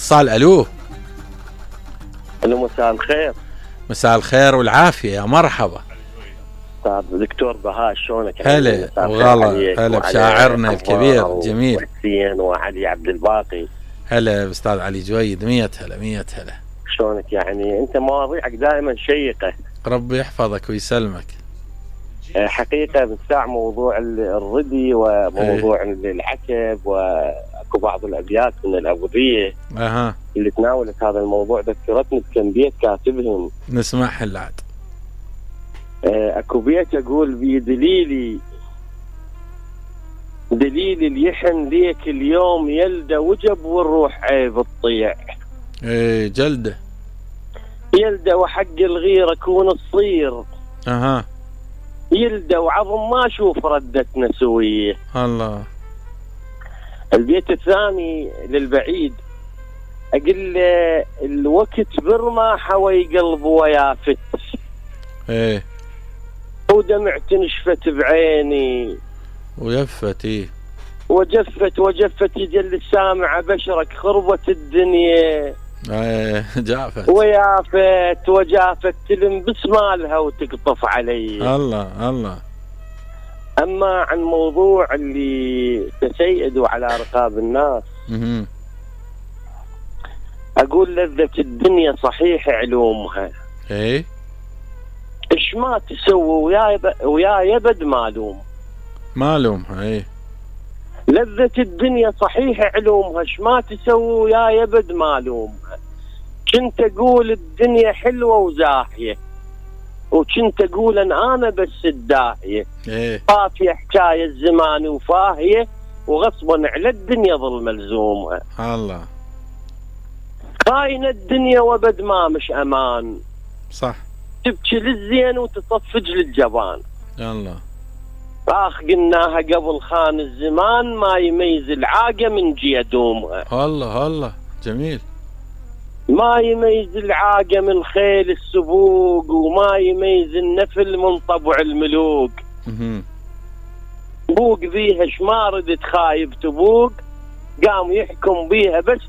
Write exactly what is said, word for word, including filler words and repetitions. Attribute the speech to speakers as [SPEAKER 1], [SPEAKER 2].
[SPEAKER 1] اتصال. الو
[SPEAKER 2] الو مساء الخير.
[SPEAKER 1] مساء الخير والعافيه، يا مرحبا.
[SPEAKER 2] طيب دكتور بهاء شلونك؟
[SPEAKER 1] هلا وغلا، هلا بشاعرنا الكبير جميل
[SPEAKER 2] وحسين وعلي عبد الباقي.
[SPEAKER 1] هلا استاذ علي جويد، مية هلا مية هلا.
[SPEAKER 2] شلونك؟ يعني انت مواضيعك دائما شيقه.
[SPEAKER 1] ربي يحفظك ويسلمك.
[SPEAKER 2] حقيقه بالساعة موضوع الردي وموضوع ايه؟ العتب، واكو بعض الابيات من الابوذيه
[SPEAKER 1] اها
[SPEAKER 2] اللي تناولت هذا الموضوع ذكرتني بكم بيت كاتبهم.
[SPEAKER 1] نسمعها العاد.
[SPEAKER 2] اكو بيت اقول بيه دليلي دليل اليحن ليك اليوم يلده وجب والروح عيب تطيع.
[SPEAKER 1] ايه جلده
[SPEAKER 2] يلده وحق الغيره كون تصير.
[SPEAKER 1] اها
[SPEAKER 2] يلده وعظم ما اشوف ردتنا سويه.
[SPEAKER 1] الله.
[SPEAKER 2] البيت الثاني للبعيد اقول له الوقت برما حوي قلب ويافت.
[SPEAKER 1] ايه
[SPEAKER 2] ودمعت نشفت بعيني
[SPEAKER 1] ويفت. ايه
[SPEAKER 2] وجفت وجفت يجل السامع بشرك خربت الدنيا.
[SPEAKER 1] ايه جافت
[SPEAKER 2] ويافت وجافت تلم بسمالها وتقطف علي.
[SPEAKER 1] الله الله.
[SPEAKER 2] اما عن موضوع اللي تسيدوا على رقاب الناس
[SPEAKER 1] مم.
[SPEAKER 2] اقول لذة الدنيا صحيح علومها.
[SPEAKER 1] ايه
[SPEAKER 2] ايش ما تسوي ويا يب... ويا يبد مالوم.
[SPEAKER 1] مالومها. ايه
[SPEAKER 2] لذة الدنيا صحيح علومها، ايش ما تسوي ويا يبد مالومها. كنت اقول الدنيا حلوة وزاحية، وكنت اقول ان انا بس الداهية.
[SPEAKER 1] ايه
[SPEAKER 2] طافية حكاية الزمان وفاهية، وغصبا على الدنيا ظل ملزومها.
[SPEAKER 1] الله.
[SPEAKER 2] خاينة الدنيا وبد ما مش امان.
[SPEAKER 1] صح.
[SPEAKER 2] تبكي للزين وتصفج للجبان.
[SPEAKER 1] الله.
[SPEAKER 2] اخ قلناها قبل خان الزمان ما يميز العاقة من جي دومها.
[SPEAKER 1] الله الله جميل.
[SPEAKER 2] ما يميز العاقة من خيل السبوق، وما يميز النفل من طبع الملوك.
[SPEAKER 1] مم.
[SPEAKER 2] بوق بيها شما ردت خايب تبوق، قام يحكم بيها بس